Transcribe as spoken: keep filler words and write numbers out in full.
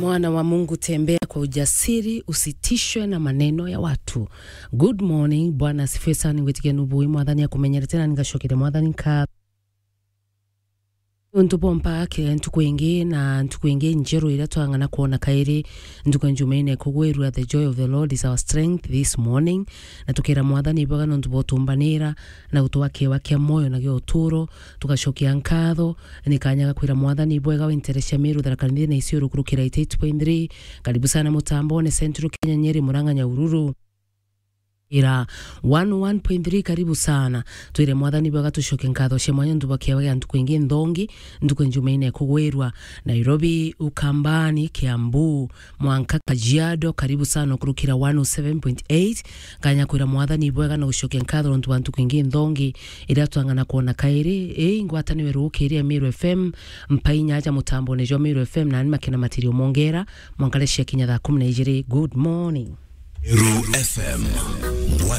Mwana wa Mungu, tembea kwa ujasiri, usitishwe na maneno ya watu. Good morning, Bwana asifiwe sana. Ningwitikia nubui, Mwathani akumenyerete na ningacokeria Mwathani nkatho. Untu bwa mpake ntuku ingi na ntuku ingi njeru iria twang'ana kwona kairi. Ntuku ya Jumaine kugwirua, the joy of the Lord is our strength this morning. Na tukira Mwathani ibwega nontu bwa utumbanira na gutwa kiewa kia moyo na gia uturo. Tugacokia nkatho ni kanya ga kwira Mwathani ibwega, winterecia Miru, Tharaka Nithi na Isiolo kurukira eighty-eight point three. Karibu sana mutambone Central Kenya, Nyeri, Murang'a, Nyahururu. Ira one oh one point three, karibu sana. Twire Mwathani bwega, tucoke nkatho cia mwanya nontu bwa kiewa gia ntuku ingi nthongi, ntuku ya Jumaine kugwirua. Nairobi, Ukambani, Kiambu, mwanka Kajiado, karibu sana kurukira one oh seven point eight. Kanya kwira Mwathani bwega na gucokia nkatho nontu bwa ntuku ingi nthongi iria twang'ana kwona kairi. Ii ngwataniwe rukiria Miru F M, mpai nyaja mutambone jwa Miru F M, nani makena matirio mongera, mwankare cia kinya thaa kumi na ijiri. Good morning. Miru F M, ngwataniro